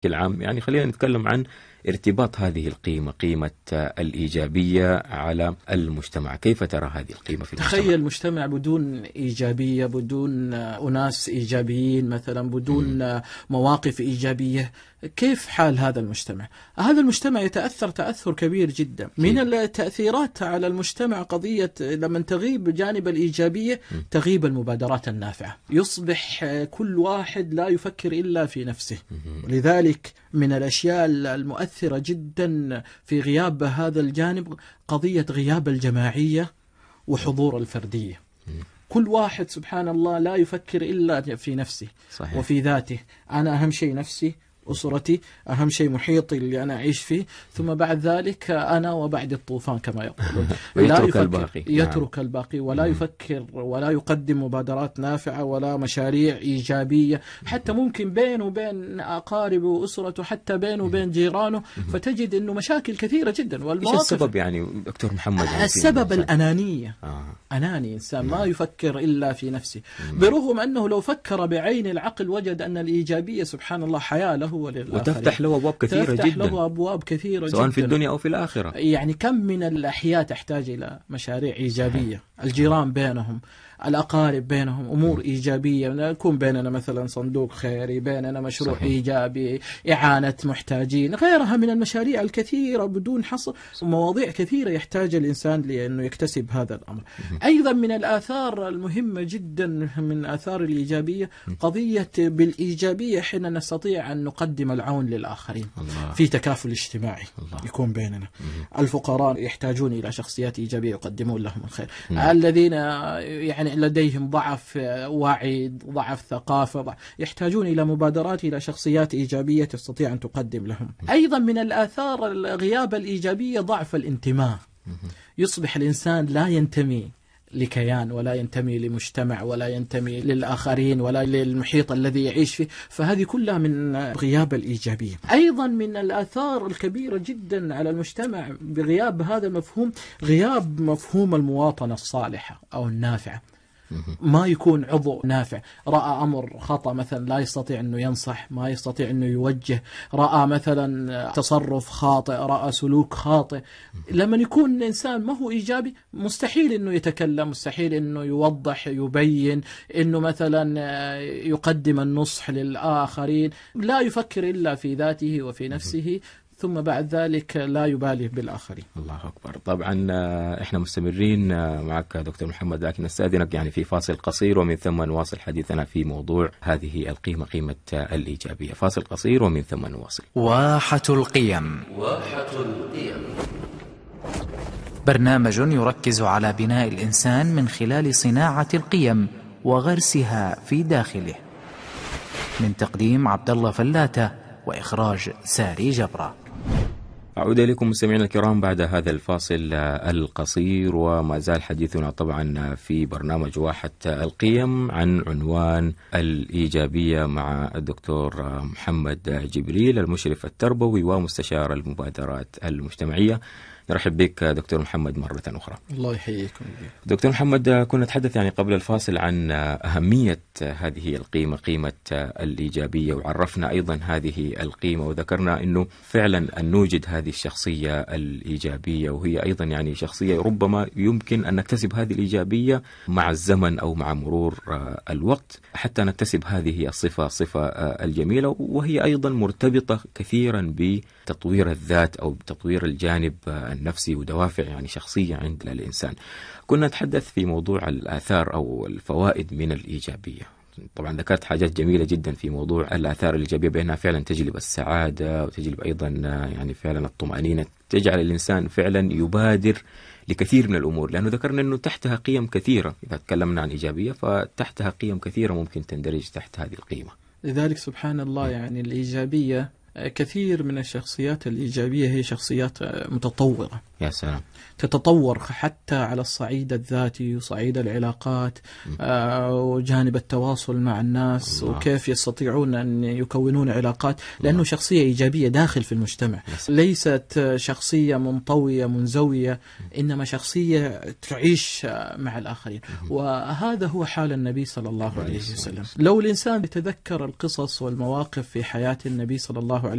العام. يعني خلينا نتكلم عن ارتباط هذه القيمة، قيمة الإيجابية على المجتمع. كيف ترى هذه القيمة في المجتمع؟ تخيل مجتمع بدون إيجابية، بدون أناس إيجابيين مثلا، بدون مواقف إيجابية، كيف حال هذا المجتمع؟ هذا المجتمع يتأثر تأثر كبير جدا. من التأثيرات على المجتمع قضية لما تغيب جانب الإيجابية تغيب المبادرات النافعة، يصبح كل واحد لا يفكر إلا في نفسه. لذلك من الأشياء المؤثرة جدا في غياب هذا الجانب قضية غياب الجماعية وحضور الفردية. كل واحد سبحان الله لا يفكر إلا في نفسه. صحيح. وفي ذاته. أنا أهم شيء نفسي، أسرتي، أهم شيء محيطي اللي أنا أعيش فيه، ثم بعد ذلك أنا وبعد الطوفان كما يقولون. يترك الباقي. يترك الباقي ولا يفكر ولا يقدم مبادرات نافعة ولا مشاريع إيجابية، حتى ممكن بينه وبين أقاربه وأسرته، حتى بينه وبين جيرانه، فتجد أنه مشاكل كثيرة جدا. إيش السبب يعني دكتور محمد؟ السبب الأنانية. أناني، إنسان ما يفكر إلا في نفسه، برغم أنه لو فكر بعين العقل وجد أن الإيجابية سبحان الله حياة له وتفتح له أبواب كثيرة جدا، تفتح له أبواب كثيرة سواء جدا في الدنيا أو في الآخرة. يعني كم من الأحياء تحتاج إلى مشاريع إيجابية. الجيران بينهم، الأقارب بينهم أمور إيجابية، يكون بيننا مثلا صندوق خيري، بيننا مشروع صحيح. إيجابي، إعانة محتاجين، غيرها من المشاريع الكثيرة بدون حصر، مواضيع كثيرة يحتاج الإنسان لأنه يكتسب هذا الأمر. أيضا من الآثار المهمة جدا من آثار الإيجابية قضية بالإيجابية حين نستطيع أن نقدم العون للآخرين. الله. في تكافل اجتماعي الله. يكون بيننا. الفقراء يحتاجون إلى شخصيات إيجابية يقدمون لهم الخير. الذين يعني لديهم ضعف وعي، ضعف ثقافة، يحتاجون إلى مبادرات، إلى شخصيات إيجابية تستطيع أن تقدم لهم. أيضا من الآثار الغياب الإيجابية ضعف الانتماء. يصبح الإنسان لا ينتمي لكيان ولا ينتمي لمجتمع ولا ينتمي للآخرين ولا للمحيط الذي يعيش فيه، فهذه كلها من غياب الإيجابية. أيضا من الآثار الكبيرة جدا على المجتمع بغياب هذا المفهوم غياب مفهوم المواطنة الصالحة أو النافعة. ما يكون عضو نافع، رأى أمر خطأ مثلا لا يستطيع أنه ينصح، ما يستطيع أنه يوجه، رأى مثلا تصرف خاطئ، رأى سلوك خاطئ. لما يكون الإنسان ما هو إيجابي مستحيل أنه يتكلم، مستحيل أنه يوضح، يبين، أنه مثلا يقدم النصح للآخرين، لا يفكر إلا في ذاته وفي نفسه، ثم بعد ذلك لا يبالي بالآخرين. الله أكبر. طبعا إحنا مستمرين معك دكتور محمد، لكن نستأذنك يعني في فاصل قصير ومن ثم نواصل حديثنا في موضوع هذه القيمة، قيمة الإيجابية. فاصل قصير ومن ثم نواصل. واحة القيم. واحة القيم، برنامج يركز على بناء الإنسان من خلال صناعة القيم وغرسها في داخله، من تقديم عبد الله فلاتة وإخراج ساري جبرة. أعود إليكم مستمعينا الكرام بعد هذا الفاصل القصير، وما زال حديثنا طبعا في برنامج واحة القيم عن عنوان الإيجابية مع الدكتور محمد جبريل، المشرف التربوي ومستشار المبادرات المجتمعية. نرحب بك دكتور محمد مرة أخرى. الله يحييكم. دكتور محمد، كنا نتحدث يعني قبل الفاصل عن أهمية هذه القيمة، قيمة الإيجابية، وعرفنا أيضا هذه القيمة وذكرنا أنه فعلا أن نوجد هذه الشخصية الإيجابية، وهي أيضا يعني شخصية ربما يمكن أن نكتسب هذه الإيجابية مع الزمن أو مع مرور الوقت حتى نكتسب هذه الصفة الجميلة، وهي أيضا مرتبطة كثيرا بتطوير الذات أو بتطوير الجانب النفسي ودوافع يعني شخصية عند الإنسان. كنا نتحدث في موضوع الآثار أو الفوائد من الإيجابية. طبعا ذكرت حاجات جميلة جدا في موضوع الآثار الإيجابية، بأنها فعلا تجلب السعادة وتجلب أيضا يعني فعلا الطمأنينة، تجعل الإنسان فعلا يبادر لكثير من الأمور، لأنه ذكرنا أنه تحتها قيم كثيرة. إذا تكلمنا عن إيجابية فتحتها قيم كثيرة ممكن تندرج تحت هذه القيمة. لذلك سبحان الله يعني الإيجابية، كثير من الشخصيات الإيجابية هي شخصيات متطورة. يا سلام. تتطور حتى على الصعيد الذاتي وصعيد العلاقات وجانب التواصل مع الناس الله. وكيف يستطيعون أن يكونون علاقات، لأنه شخصية إيجابية داخل في المجتمع، ليست شخصية منطوية منزوية، إنما شخصية تعيش مع الآخرين. وهذا هو حال النبي صلى الله عليه وسلم. لو الإنسان يتذكر القصص والمواقف في حياة النبي صلى الله